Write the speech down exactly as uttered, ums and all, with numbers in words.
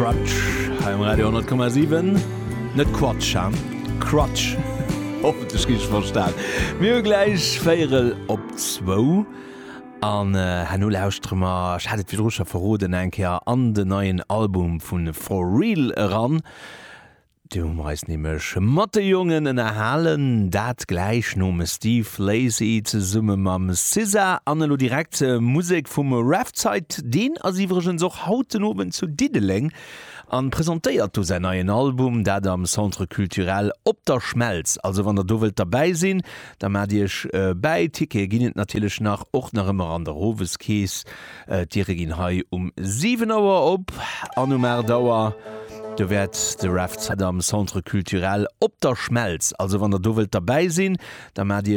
Crutch hei um Radio honnert Komma siwen. Net Quatsch, ha? Crutch. Hoffentlech richteg verstan. Mir hu gläich véierel op zwou an herno lauschtere mer, ech hat et virdru scho verroden, eng Kéier an den neien Album vu For Real eran. Do hu mer eis nämlech mat de Jongen ënnerhalen, dat gläich nom Steve Lacy zesumme mam SZA an elo direkt Musek vum Raf Zeit. Deen ass iwwregens och haut den Owend zu Diddeleng an presentéiert do säin neien Album, dat am Centre Culturel Op der Schmelz. Also wann der do wëllt derbäi sinn, da maacht iech bäi. Tickete ginn et natierlech nach, och nach ëmmer an der Oweskeess. D'Diere ginn hei um siwen Auer op an um aacht Auer do wäert de Raf Zeit am Centre Culturel Op der Schmelz. Also wann der do wëllt derbäi sinn, da maacht iech